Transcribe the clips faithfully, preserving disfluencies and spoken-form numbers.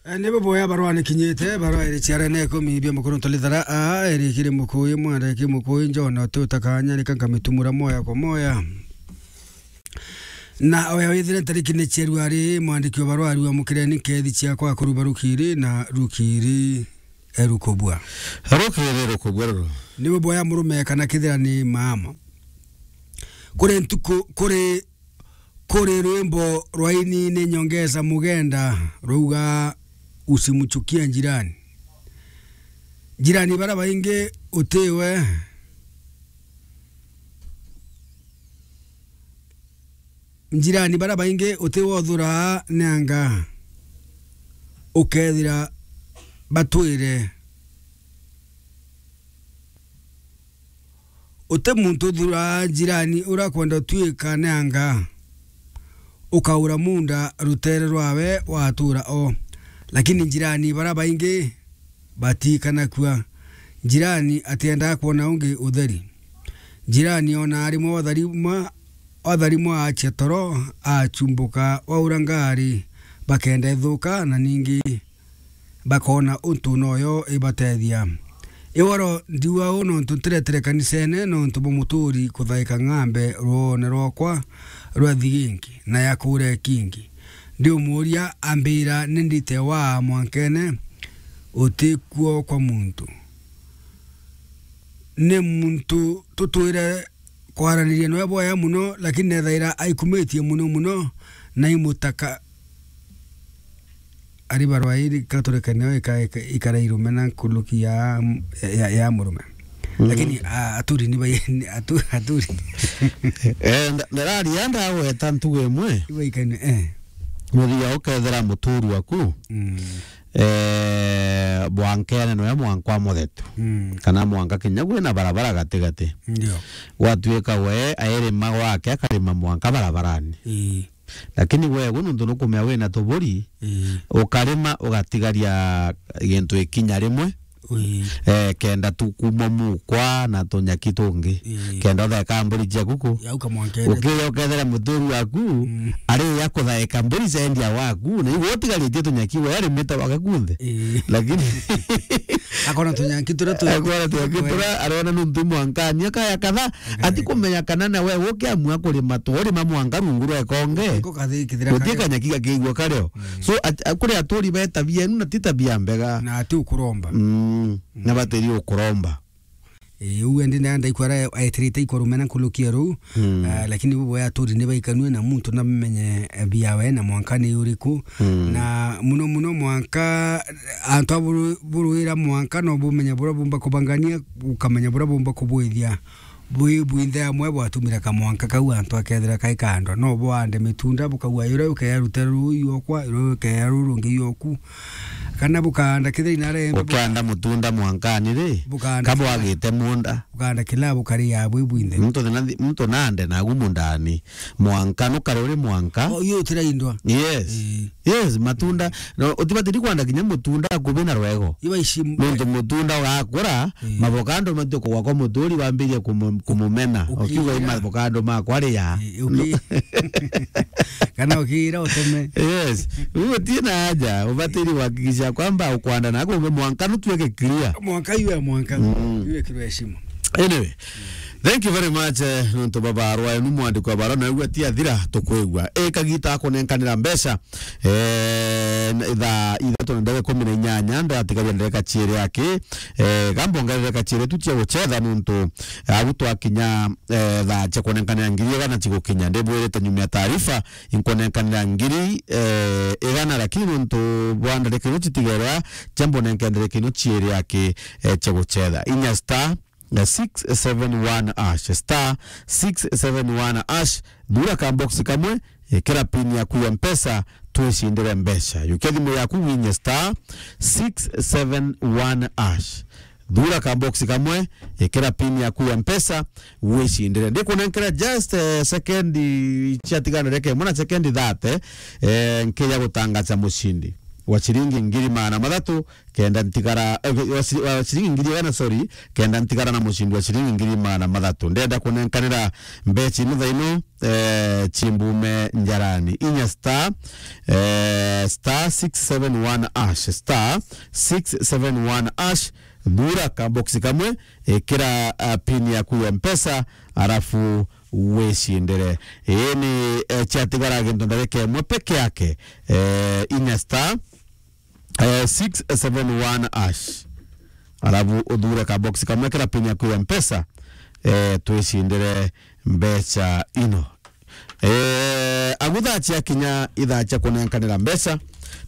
E, ni buboya barua ni kinyite, barua iri ciarene ikumi bia mukuru ntalithara, a, iri kiri mukuyi, mwandiki mukuyi, Njona, uti utakanya, rika nkamitumura moya kwa moya. Na oya withire ntariki ni ciaru ari, mwandiki wa barua ariwa mukireni nkethi ciakwa kuruba rukiri na rukiri erukubua. Rukiri rukubua ruru. Ni buboya murume kana kithira ni maama. Kuri ntuku, kuri Kuri rwimbo rwa ini ni nyongeza mugenda rwauga, "Usimchukie jirani." Jirani bara baingi utiwe, jirani bara baingi utiwe uthura ni anga ukethira batwire. Uti muntu uthuraa jirani uria akwenda utuika ni anga, ukaura munda rutere rwawe watura o. Lakini jirani bara baingi batikanakua. Jirani atiendaa kwona ungi utheri. Jirani ona arimwe watharimwa, watharimwa achia toro, achumbuka waura ngari, bakenda ithuka na ningi bakona untu noyo ibatethia. Iworo ndiuga uu nontu ntiretire kanisene nontu bwa muturi kuthaika ng'ambe rwoone rwakwa rwa thiginki na ya kuria ikingi. Ndiumuria ambira, "Ni ndite waa mwankene utikuo kwa muntu." Ni muntu tutwire kwaraniria niwe bwaya muno, lakini nethaira aikumitie muno muno, na imutaka ari barua iri katurekania ika-, ika-, ikara irume na nkuluki ya, ya, ya murume. Mm. Lakini, a, aturi ni bai-, ni atu-, aturi. Eh, nda-, ndararia ndagweta ntugo imwe. Ibaikane, eh. Muthia ukethira muturu waku. Mm. Eh, mwankene noe mwanka wa muthetu. Mm. Kana mwanka kinya gwina barabara gatigati. Ndio. Gwatuika we airima gwake akarima mwanka barabarani. Ii. Lakini we gu nuntu nukumea wina tuburi, ii, ukarima ugatigaria gintu ikinya rimwe. Ii. Eh, kenda tu kuma mukwa na tunyaki tungi. Ii. Kenda utheka mburi cia kuku. Yauka mwankene. Ukiya ukethera muturu waku, mm, ari ya kuthaika mburi cendia waku, na igwe utigaritie tunyaki we arimite wake kunthe. Ii. Lakini akona tunyaki turia tu-, akona tunyaki turia arona nuntu mwankani akaya katha, akaya ati katha. Kumenya kana na we ukiamua kurima tu, urima mwanka rungu rwa ikonge. Iko kathi kithira. Guti kario. Kanyaki gakigua kario. Mm. So, at-, a-, kuri aturi be tabia inu na ti tabia mbega. Na ati ukuromba. Mm. Na batiri ukuromba. Ii, uu endi na ndaikwa ara aetirite ikorume na nkulukia ruu. Mm. Ah, lakini bubu ya aturi ni baikanue na muntu na menye, eh, biawe na mwanka ni uriku. Mm. Na muno muno mwanka, antu aburu-, buruira mwanka no bumenya buria bumba kubangania, ukamenya buria bumba kubwithia. Bwi bwinthe amwe bwatumire kamwanka kau antu akethira kai kando. No bwande mitunda bukauga, "Yuria ukeya rutere ruu iokwa, yuria ukeya ruu rungi ioku." Kana bukanda kithira inarembe, ukianda mutunda mwankani ri, bukaanda kabo kila, agite munda. Bukaanda kila bukaria bwi bwinthe. Muntu na, muntu nande nagu mundani. Mwanka nukare uri mwanka. Oh, iyo utiraindwa. Yes. Ii. Yes, matunda. No, utibatiri kwanda kinya mutunda akubi na rwego. Iba ici m-, nontu mutunda ugakura, ii, mavokando matio kugwa kwa muturi wambirie kumu-, kumumena. Ukiuga, "Ii, mavokando makwa ria." Ii, uki-, kana ukiira uteme. Yes. Riu utie na haja, ubatiri kuhakikisha kwamba ukwanda na kumbe mwanka nutueke clear. Mwanka iwe mwanka. Mm. Iwe kirwe heshima. Anyway, thank you very much, eh, nontu baba arwa enu mwandiko wa barua na ugwa ti athira tukwigua. E kagita akunenkanira mbeca, eh, na thaa ithatũ na ndagĩka ikũmi na inyanya, ndatigaria ndagĩka ciĩrĩ aki, eh, gambongerere kaciĩrĩ tu cia gucetha nontu, eh, agu twakinya, eh, thaa cia kunenkanira ngiri igana cigukinya. Ndibwirite nyuma ya taarifa, inkunenkanira ngiri, eh, igana, lakini nontu bwa ndagĩka ino citigerwa, cia mbonenkanire kino ciĩrĩ aki, eh, cia gucetha. Inya star, eh, six seven one hash, star six seven one hash, thura ka box kamwe, ikira pin yaku ya Mpesa, twicindire mbeca. Yukia thimu yaku winye star six seven one hash. Thura ka box kamwe, ikira pin yaku ya Mpesa, wicindire. Ndikunenkera just, eh, second ciatigana reke, mwana second thirty, eh, nkija gutangaza mucindi. wa ciringi ngiri magana mathatu, kenda ntigara, eh, wa ciri-, wa ciringi ngiri igana, sorry, kenda ntigara na mucindi wa ciringi ngiri magana mathatu. Ndenda kunenkanira mbeca ino thaa ino, eh, chimbume njarani. Inya star, eh, star six seven one hash, star six seven one hash, thura ka box kamwe, ikira, ah, pin yaku ya Mpesa, arafu wicindire. Ii ni, eh, ciatigara gintu ndagika imwe peke yake. Eh, inya star, eh, six seven one hash. Arafu uthure ka box kamwe, kira pin yaku ya Mpesa, eh, twicindire mbeca ino. Eh, agu thaa ciakinya ithaa cia kunenkanira mbeca,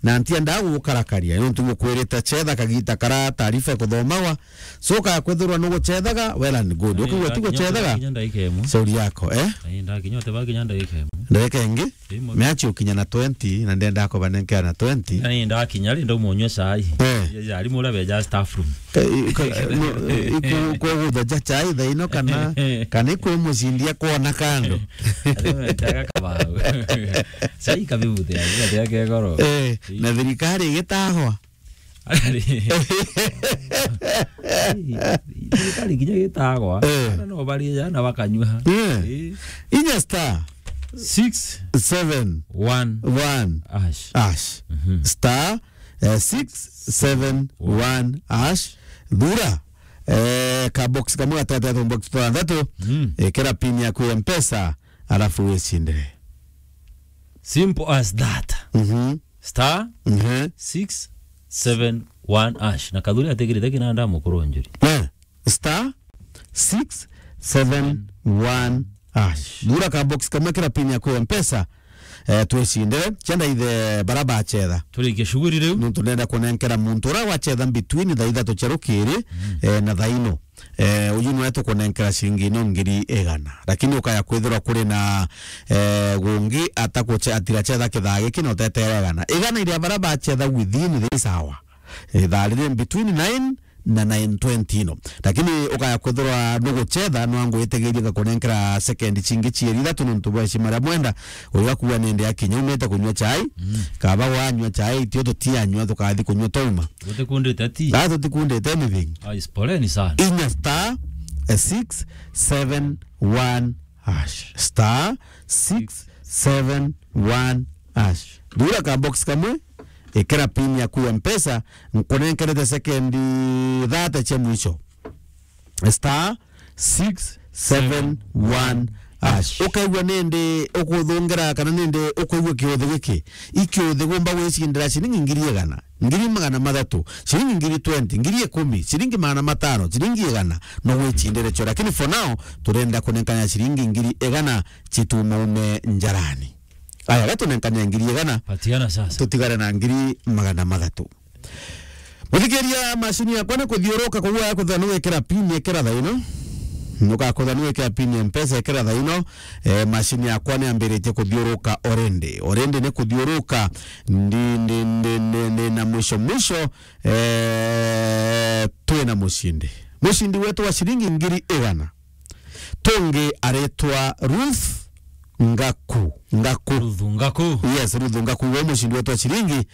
na ntiendaa gugukarakaria, nontu ngukwirite cetha kagita kara taarifa ikuthomagwa, so ka kwithirwa nugucethaga, well and good. Ukigwa ti gucethaga, kinya ndagika imwe. Shauri yako, eh? Ai, ndakinya, uteba kinya ndagika imwe. Ndagika ingi? Imwe. Meachi ukinya na twenty, na ndenda kubanenkea na twenty. Ai, ndakinya ri, ndauma unywa cai. Eh. Ya, ya, ari muria beja staff room. Ka-, i-, ka-, no, i-, ku-, kugutha ja chai thaa ino kana, kana ikwi mucindi akwona kando. Ari metaga kabau. Chai kabibuthira, kabibuthira kegoro. Eh, na thirikari igitagwa. Ari. Thirikari kinya gitagwa. Eh. Ana no bari jana bakanywa. Eh. Eh. Inya star six seven one hash. Hash. Mhm. Star, eh, six seven one hash. Thura, eh, ka box kamwe gatatu, box twanthatu. Mm. Ikira pin yaku ya Mpesa, alafu wicindire. Simple as that. Mhm. Star, mhm, six seven one hash. Na Kathuri atigirite kinanda mukuru njuri. Eh, star six seven one hash. Thura ka box kamwe, kira pin yaku ya Mpesa, eh, twicindire. Chenda ithe bara bacetha. Turikie shughuli riu. Nontu ndenda kunenkera muntu uria wacetha between thaa ithatu cia rukiri, mm, eh, na thaa ino. Eh, uyu niwe tukunenkera ciringi ino ngiri igana. Lakini ukaya kwithirwa kuri na, eh, gungi atakuche-, atiracetha kithaa giki na utetere igana. Igana iria bara bacetha within this hour. Ithaa riri between nine na nine twenty ino. Lakini ukaya kwithirwa nugucetha, no angwitigirie ngakunenkera sekendi cingi cieri ithatu nontu bwa heshima ria mwenda. Uyu akuga nindi akinya umite kunywa chai, mm, kaba wanywa chai, tio tutianywa, tukathi kunywa twauma. Gutikundite ti? Ah, tutikundite anything. Ah, is poleni sana. Inya star, eh, six seven one hash. Star six seven one hash. Thura ka box kamwe, ikira pin yaku ya Mpesa, nkunenkerete sekendi thate cia mwisho. Star six seven one hash. Ukaigua nindi ukuthungira kana nindi ukaigua kiuthi giki. Ikiuthi gumba gwicindira ciringi ngiri igana, ngiri magana mathatu, ciringi ngiri twenty, ngiri ikumi, ciringi magana matano, ciringi igana, no gwicindire cio. Lakini for now, turenda kunenkana ciringi ngiri igana cituma ume njarani. Aya, gatunenkania ngiri igana. Patiana sasa. Tutigare na ngiri magana mathatu. Muthikiria, macini yakwa ni kuthiuruka, koguo ya kuthwa ni gwikira pin, ikira thaa ino. Nukakuthwa ni gwikira pin ya Mpesa, ikira thaa ino. Eh, macini yakwa ni ambiritie kuthiuruka already. Already ni kuthiuruka. Ndi, ndi, ndi, ndi, ndi na mwisho mwisho, eh, twina mucindi. Mucindi wetu wa ciringi ngiri igana. Tungi aretwa Ruth Ngaku. Ngaku. Ruth Ngaku. Yes, Ruth Ngaku. We mucindi wetu wa ciringi,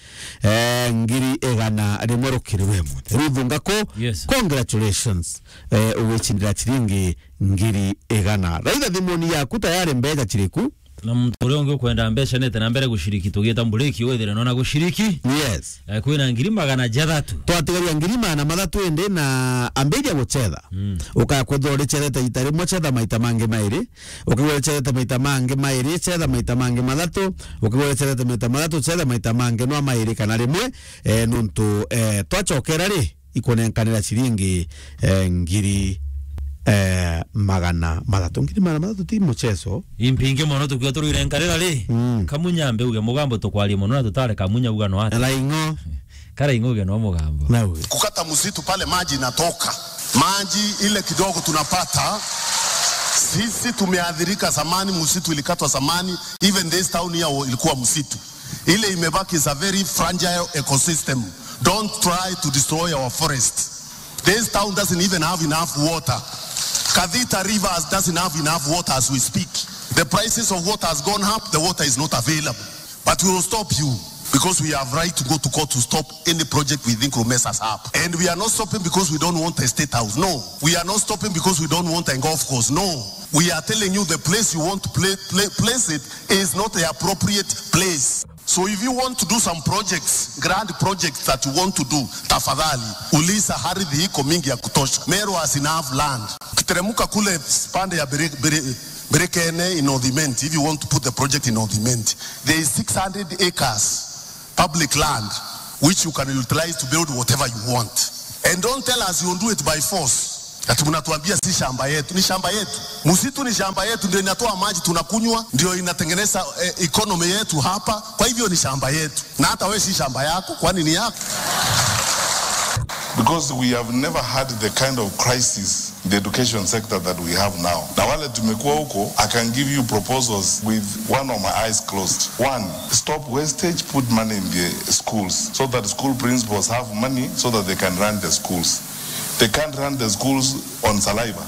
eh, ngiri igana rimwe rukiri we muthe. Ruth Ngaku, yes, congratulations. Eh, ugicindira ciringi ngiri igana. Raitha thimuni yaku tayari mbeca ciriku. Na muntu uria ungi ukwenda mbeca nete na mbere guciriki, tugieta mburiki withire nona guciriki. Yes. Eh, kwina ngiri magana jathatu. Twatigaria ngiri magana mathatu indi na ambiria gucetha. Mm. Ukaya kwithirwa uricethete ita rimwe, cetha maita mangi mairi. Ukigwa uricethete maita mangi mairi, cetha maita mangi mathatu. Ukigwa uricethete maita mathatu, cetha maita mangi nwa mairi kana rimwe. Eh, nontu, eh, twacokera ri, ikunenkanira ciringi, eh, ngiri, eh, magana mathatu. Ngiri magana mathatu ti muchezo. Impingi mono tukiwa turuire nkarira ri. Mm. Kamunya mbe uge mugambo tukwarie mono na tutare kamunya uga no ati. Raingo. Karaingo uge no mugambo. Nawe. Kukata msitu pale maji inatoka. Maji ile kidogo tunapata, sisi tumeathirika zamani, msitu ilikatwa zamani, even this town here ilikuwa msitu. Ile imebaki is a very fragile ecosystem. Don't try to destroy our forest. This town doesn't even have enough water. Kathita River doesn't have enough water as we speak. The prices of water has gone up, the water is not available. But we will stop you. Because we have right to go to court to stop any project we think will mess us up. And we are not stopping because we don't want a state house. No. We are not stopping because we don't want a golf course. No. We are telling you the place you want to play, play, place it is not the appropriate place. So if you want to do some projects, grand projects that you want to do, tafadhali, uliza ardhi iko mingi ya kutosha. Meru has enough land. Ukiteremuka kule pande ya Bere-, Bere-, Berekene in North Imenti, if you want to put the project in North Imenti, there is six hundred acres public land which you can utilize to build whatever you want. And don't tell us you'll do it by force. Ati mnatuambia si shamba yetu, ni shamba yetu. Msitu ni shamba yetu, ndio inatoa maji tunakunywa, ndio inatengeneza, eh, economy yetu hapa. Kwa hivyo ni shamba yetu. Na hata wewe si shamba yako, kwani ni yako? Because we have never had the kind of crisis in the education sector that we have now. Na wale tumekuwa huko, I can give you proposals with one of my eyes closed. One, stop wastage, put money in the schools so that school principals have money so that they can run the schools. They can't run the schools on saliva.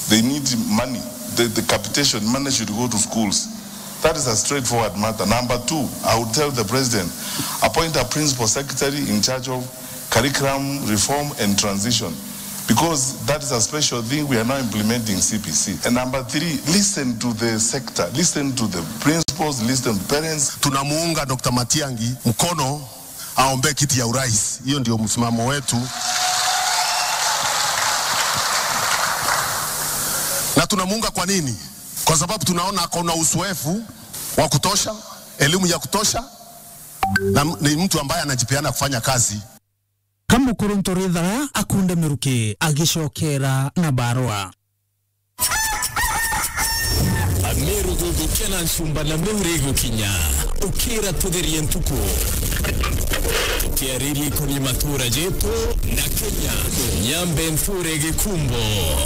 They need money. The, the capitation money should go to schools. That is a straightforward matter. Number two, I would tell the president, appoint a principal secretary in charge of curriculum reform and transition, because that is a special thing we are now implementing C P C. And number three, listen to the sector, listen to the principals, listen to parents. Tunamuunga Doctor Matiang'i mkono aombee kiti ya urais. Hiyo ndio msimamo wetu. Na tunamuunga kwa nini? Kwa sababu tunaona ako na uzoefu wa kutosha, elimu ya kutosha, na m-, ni mtu ambaye anajipeana kufanya kazi. Ka mukuru Ntorithara akunde miruki agicokera na barua. Ameru guthukia na ncumba na mihuri igukinya. Ukira tutherie ntuku. Tukiariria ikoni matura jetu na Kenya. Nyambe nthure gikumbo.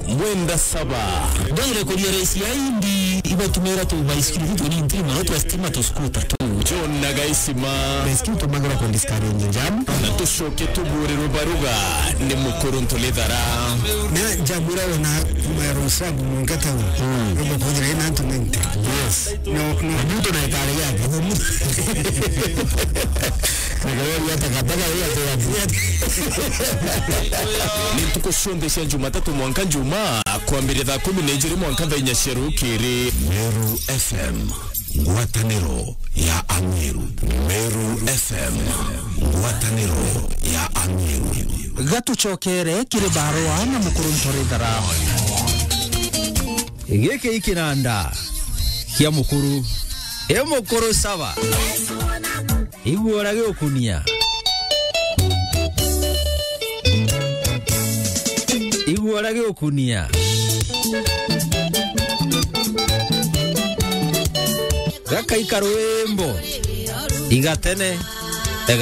Mwenda saba. Ndwire kuria rais ya indi ibatumira tu baisikiri tu ni ntiri mono twa stima tu skuta tu. John na Gaisima. Baisikiri tumagira ku discourage jam. Na tucoke tuburirwe baruga ni mukuru Ntorithara. Na jam ira wona kuma ya Rosabu mwanka tau. Mm. Robo kujira ina antu ninety. Yes. No, no. Mtu na ikari yake. Ni ntuku cionthe cia Jumatatu mwanka Njumaa, kwambiria thaa kumi na ijiri mwanka thaa inya cia rukiri. Meru F M, ngwataniro ya Ameru. Meru F M, ngwataniro ya Ameru. Gatucokere kiri barua na mukuru Ntorithara. Giki i kinanda kia mukuru. E mukuru saba. Igua uria giukunia. Igua uria giukunia. Gaka i karwimbo. Igatene.